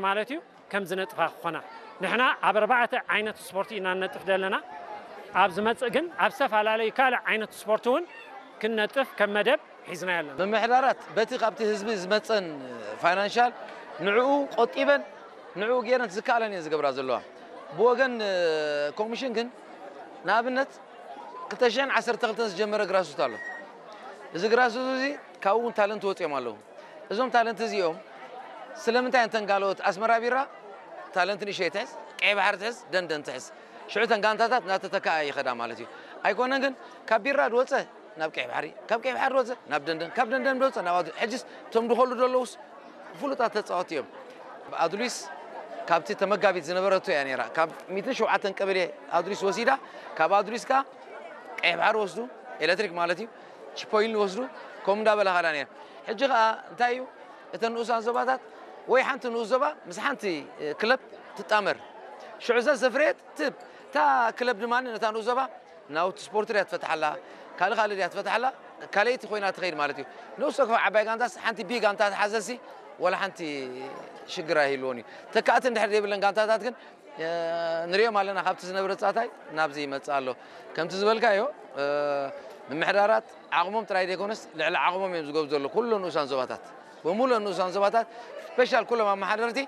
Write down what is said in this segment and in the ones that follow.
ማለት እዩ ከም ዝነጥፋ ክኾና። ንሕና ኣብ ኣርባዕተ ዓይነት ስፖርት ኢና ንነጥፍ ዘለና። ኣብ ዝመጽእ ግን ኣብ ዝተፈላለዩ ካልእ ዓይነት ስፖርት እውን ክንነጥፍ ከም መደብ ሒዝና ኣለና። ምምሕዳራት በቲ ካብቲ ህዝቢ ዝመጸን ፋይናንሻል ንዕኡ ቆጢበን ንዕኡ ገይረን ዝከኣለን እየን ዝገብራ ዘለዋ። ብወገን ኮሚሽን ግን ንኣብነት ክልተ ሽሕን ዓሰርተ ክልተን ዝጀመረ ግራስሩት ኣሎ። እዚ ግራስሩት እዚ ካብኡ እውን ታለንት ወፂኦም ኣለዉ። እዞም ታለንት እዚኦም ስለምንታይ እንተን ጋለዎት ኣስመራ ቢራ ታለንት ንእሽተይ ትሕዝ፣ ቀይ ባሕሪ ትሕዝ፣ ደንደን ትሕዝ፣ ሽዑ እተን ጋንታታት እናተተካኣ ይኸዳ ማለት እዩ። ኣይኮነን ግን ካብ ቢራ ድወፀ ናብ ቀይ ባሕሪ፣ ካብ ቀይ ባሕሪ ድወፀ ናብ ደንደን፣ ካብ ደንደን ድወፀ ናብ ኣዱ-፣ ሕጅስ እቶም ድኸሉ ደለውስ ፍሉጣት ተፃወቲ እዮም። ኣዱሊስ ካብቲ ተመጋቢት ዝነበረቶ እያ ነይራ። ካብ ሚእትን ሸውዓተን ቀበሌ ኣዱሊስ ወሲዳ፣ ካብ ኣዱሊስ ከኣ ቀይ ባሕሪ ወስዱ፣ ኤሌክትሪክ ማለት እዩ፣ ቺፖይልን ወስዱ፣ ከምኡ እንዳበለ ኻዳ ነይራ። ሕጂ ኸኣ እንታይ እዩ፣ እተን ንኡሳን ዞባታት ወይ ሓንቲ ንኡስ ዞባ ምስ ሓንቲ ክለብ ትጣመር። ሽዑ እዛ ዘፍረየት ትብ እታ ክለብ ድማ ነታ ንኡስ ዞባ ናውቲ ስፖርት ድያ ትፈትሓላ፣ ካልእ ካልእ ድያ ትፈትሓላ፣ ካልኣይቲ ኮይና ትኸይድ ማለት እዩ። ንኡስ ሶክፋ ዓባይ ጋንታስ ሓንቲ ቢ ጋንታ ትሓዘሲ ወላ ሓንቲ ሽግር ኣይህልዎን እዩ። ተካእቲ እንድሕር ዘይብለን ጋንታታት ግን ንሪኦም ኣለና። ካብቲ ዝነበረ ጻታይ ናብዚ ይመጽእ ኣሎ። ከምቲ ዝበልካዮ ምምሕዳራት ዓቕሞም ጥራይ ዘይኮነስ ልዕሊ ዓቕሞም እዮም ዝገብሩ ዘሎ ኩሉ ንኡሳን ዞባታት፣ ብምሉእ ንኡሳን ዞባታት ስፔሻል ኩሎም ኣመሓደርቲ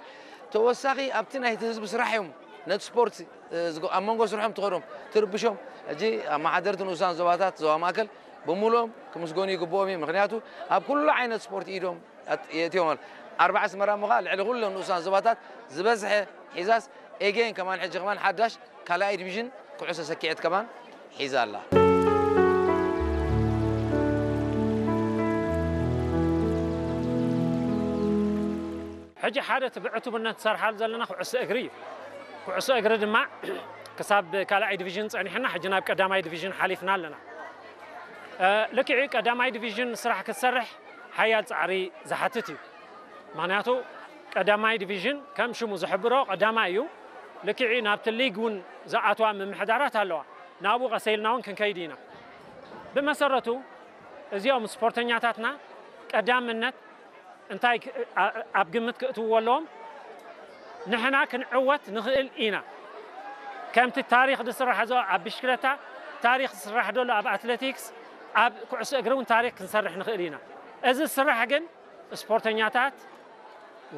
ተወሳኺ ኣብቲ ናይቲ ህዝቢ ስራሕ እዮም ነቲ ስፖርት ኣብ መንጎ ስርሖም ትኸዶም ትርብሾም። ሕጂ ኣመሓደርቲ ንኡሳን ዞባታት ዞባ ማእከል ብምሉኦም ክምስገኑ ይግብኦም እዩ። ምክንያቱ ኣብ ኩሉ ዓይነት ስፖርት ኢዶም የእትዮም ኣሎ። ኣርባዕ ኣስመራ ምዃ ልዕሊ ኩሎም ንኡሳን ዞባታት ዝበዝሐ ሒዛስ ኤጌን ከማን ሕጂ ከማን ሓዳሽ ካልኣይ ዲቪዥን ኩዕሶ ሰኪዐት ከማን ሒዛ ኣላ። ሕጂ ሓደ እቲ ብዕቱብነት ንሰርሓሉ ዘለና ኩዕሶ እግሪ እዩ። ኩዕሶ እግሪ ድማ ክሳብ ካልኣይ ዲቪዥን ጸኒሕና ሕጂ ናብ ቀዳማይ ዲቪዥን ሓሊፍና ኣለና። ልክዕ ቀዳማይ ዲቪዥን ስራሕ ክትሰርሕ ሓያል ጻዕሪ ዝሓትት እዩ። ምኽንያቱ ቀዳማይ ዲቪዥን ከም ሽሙ ዝሕብሮ ቀዳማይ እዩ። ልክዕ ናብቲ ሊግ እውን ዝኣትዋ ምምሕዳራት ኣለዋ። ናብኡ ቀሰ ኢልና እውን ክንከይድ ኢና። ብመሰረቱ እዚኦም ስፖርተኛታትና ቀዳምነት እንታይ ኣብ ግምት ክእትውዎ ኣለዎም? ንሕና ክንዕወት ንኽእል ኢና። ከምቲ ታሪኽ ዝስራሕ ዘሎ ኣብ ብሽክለታ ታሪኽ ዝስራሕ ዘሎ ኣብ ኣትሌቲክስ ኣብ ኩዕሶ እግሪ እውን ታሪኽ ክንሰርሕ ንኽእል ኢና። እዚ ስራሕ ግን ስፖርተኛታት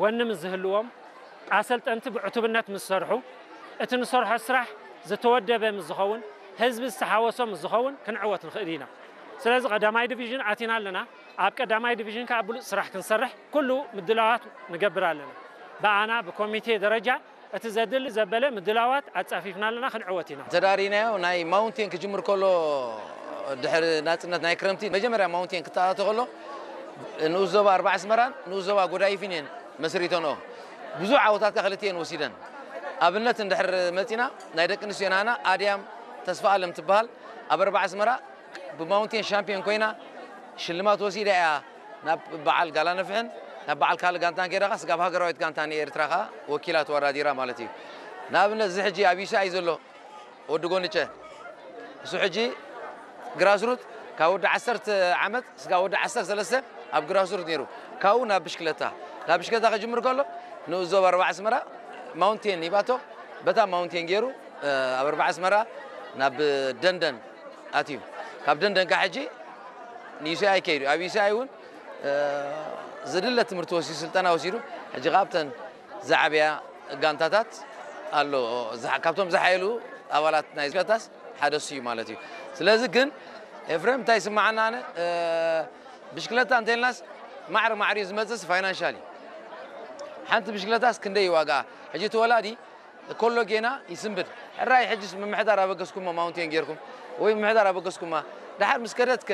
ወኒ ምስ ዝህልዎም ኣሰልጠንቲ ብዕቱብነት ምስ ዝሰርሑ እቲ ንሰርሖ ስራሕ ዝተወደበ ምስ ዝኸውን ህዝቢ ዝተሓወሶ ምስ ዝኸውን ክንዕወት ንኽእል ኢና። ስለዚ ቀዳማይ ዲቪዥን ኣቲና ኣለና። ኣብ ቀዳማይ ዲቪዥን ከዓ ብሉፅ ስራሕ ክንሰርሕ ኩሉ ምድላዋት ንገብር ኣለና። ብኣና ብኮሚቴ ደረጃ እቲ ዘድሊ ዘበለ ምድላዋት ኣፃፊፍና ኣለና፣ ክንዕወት ኢና። ተዳሪናዮ ናይ ማውንቴን ክጅምር ከሎ ድሕሪ ናፅነት ናይ ክረምቲ መጀመርያ ማውንቴን ክተኣቶ ከሎ ንኡስ ዞባ ኣርባዕ ኣስመራን ንኡስ ዞባ ጎዳይፍን እየን መስሪተንኦ። ብዙሕ ዓወታት ከዓ ክልቲኤን ወሲደን። ኣብነት እንድሕር መፂና ናይ ደቂ ኣንስትዮ ናና ኣድያም ተስፋ ኣለም ትበሃል ኣብ ኣርባዕ ኣስመራ ብማውንቴን ሻምፒዮን ኮይና ሽልማት ወሲዳ እያ ናብ በዓል ጋላ ነፍሕን ናብ በዓል ካልእ ጋንታን ከይዳ ኸዓ ስጋብ ሃገራዊት ጋንታ ንኤርትራ ኸዓ ወኪላ ተወዳዲራ ማለት እዩ። ንኣብነት እዚ ሕጂ ኣብ ዩሲኣይ ዘሎ ወዲ ጎንጨ እሱ ሕጂ ግራስሩት ካብ ወዲ ዓሰርተ ዓመት ስጋብ ወዲ ዓሰርተ ሰለስተ ኣብ ግራስሩት ነይሩ። ካብኡ ናብ ብሽክለታ ናብ ብሽክለታ ክጅምር ከሎ ንኡስ ዞባ ኣርባዕ ኣስመራ ማውንቴን ሂባቶ በታ ማውንቴን ገይሩ ኣብ ኣርባዕ ኣስመራ ናብ ደንደን ኣትዩ። ካብ ደንደን ከዓ ሕጂ ንዩሲኣይ ከይዱ ኣብ ዩሲኣይ እውን ዝድለ ትምህርቲ ወሲዱ ስልጠና ወሲዱ ሕጂ ካብተን ዝዓበያ ጋንታታት ኣሎ። ካብቶም ዝሓየሉ ኣባላት ናይ ጋንታስ ሓደ እሱ እዩ ማለት እዩ። ስለዚ ግን ኤፍሬም እንታይ ይስምዓና ኣነ ብሽክለታ እንተልናስ ማዕረ ማዕሪኡ ዝመፅስ ፋይናንሻል እዩ። ሓንቲ ብሽክለታስ ክንደይ ዋጋ ሕጂ ተወላዲ ከሎ ጌና ይስንብድ። ሕራይ ሕጅስ ምምሕዳር ኣበገስኩሞ ማውንቴን ጌርኩም ወይ ምምሕዳር ኣበገስኩማ ድሓር ምስ ከደትከ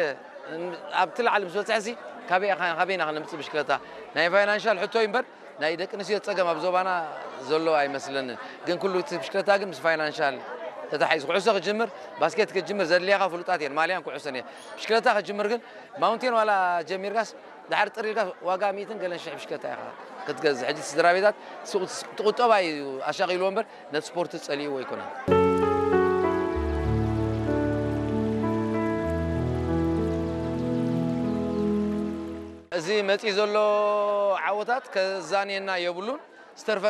ኣብቲ ላዕሊ ምስ በፅሐሲ ካበይ ኢኻ- ካበይና ክነምፅእ ብሽክለታ ናይ ፋይናንሻል ሕቶ እዩ እምበር ናይ ደቂ ኣንስትዮ ፀገም ኣብ ዞባና ዘሎ ኣይመስለንን። ግን ኩሉ እቲ ብሽክለታ ግን ምስ ፋይናንሻል ተታሒዙ ኩዕሶ ክጅምር ባስኬት ክጅምር ዘድልያኻ ፍሉጣት እየን ማልያን ኩዕሶን እየ። ብሽክለታ ክጅምር ግን ማውንቴን ዋላ ጀሚርካስ ድሓር ጥሪልካ ዋጋ ሚእትን ገለን ሽሕ ብሽክለታ ኢኻ ክትገዝእ። ሕጂ ስድራ ቤታት ሱቕ ትቑጠባ እዩ ኣሻቒልዎ እምበር ነቲ ስፖርት ጸሊእዎ ኣይኮነን። እዚ መጺኡ ዘሎ ዓወታት ከዛንየና የብሉን። ዝተርፈ